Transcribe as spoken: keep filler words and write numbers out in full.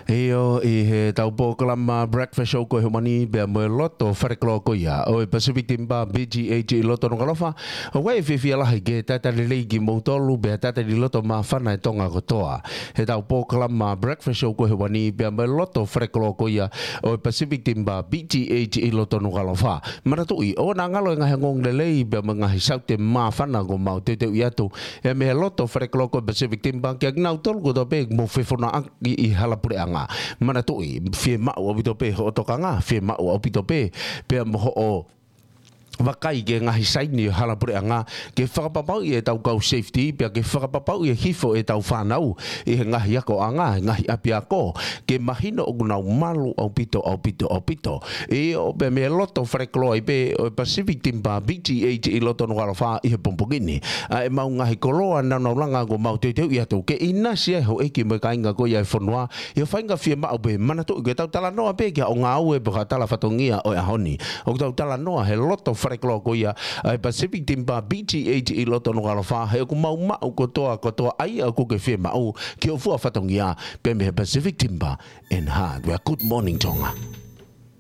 ʻIo, ʻi heʻetau polokalama Breakfast Show ko ē he ʻaho ni, pea mo e loto falekoloa ko ia ʻo e Pacific Timber B G H ʻi loto Nukuʻalofa. ʻOku ʻi ai e fiefia lahi ke talitali lelei kimoutolu, pea talitali loto māfana e Tonga kotoa. Heʻetau polokalama Breakfast Show ko ē he ʻaho ni, pea mo e loto falekoloa ko ia ʻo e Pacific Timber B G H ʻi loto Nukuʻalofa. Manatuʻi, ʻoua naʻa ngalo e ngaahi ongoongolelei, pea mo e ngaahi saute māfana kuo mau teuteuʻi atu, ʻe mei he loto falekoloa ko e Pacific Timber, kiate kinautolu kotoa pē ʻoku mou fefonongaʻaki ʻi hala puleʻanga. Manatuʻi, fiemaʻu ʻaupito pē hoʻo tokanga, fiemaʻu ʻaupito pē, pea mo hoʻo vakai ki he ngaahi saini ʻo e hala puleʻanga, ke fakapapauʻi ʻetau kau safety, pea ke fakapapauʻi e hifo ʻetau fānau ʻi he ngaahi akoʻanga, he ngaahi ʻapiako, ke mahino ʻoku nau malu ʻaupito, ʻaupito, ʻaupito. ʻIo, pea mei he loto falekoloa ai pē ʻo e Pacific Timber B G H ʻi loto Nukuʻalofa ʻi he pongipongi ni. ʻA ʻemau ngaahi koloa naunau langa kuo mau teuteuʻi atu ke ʻinasi ai e houʻeiki mo e kāinga ko ia e fonua ʻi ha faʻahinga fiemaʻu pē. Manatuʻi, ʻoku tau talanoa pē ki ha ngāue pe ko ha tala fatongia ʻo e ʻaho ni. ʻOku tau talanoa he loto falekoloa ko ia ʻa e Pacific Timber B G H ʻi loto Nukuʻalofa, he ʻoku mau maʻu kotoa, kotoa ʻa ia ʻoku ke fiemaʻu ki hoʻo fua fatongia, pea mei he Pacific Timber and Hardware. Good morning, Tonga.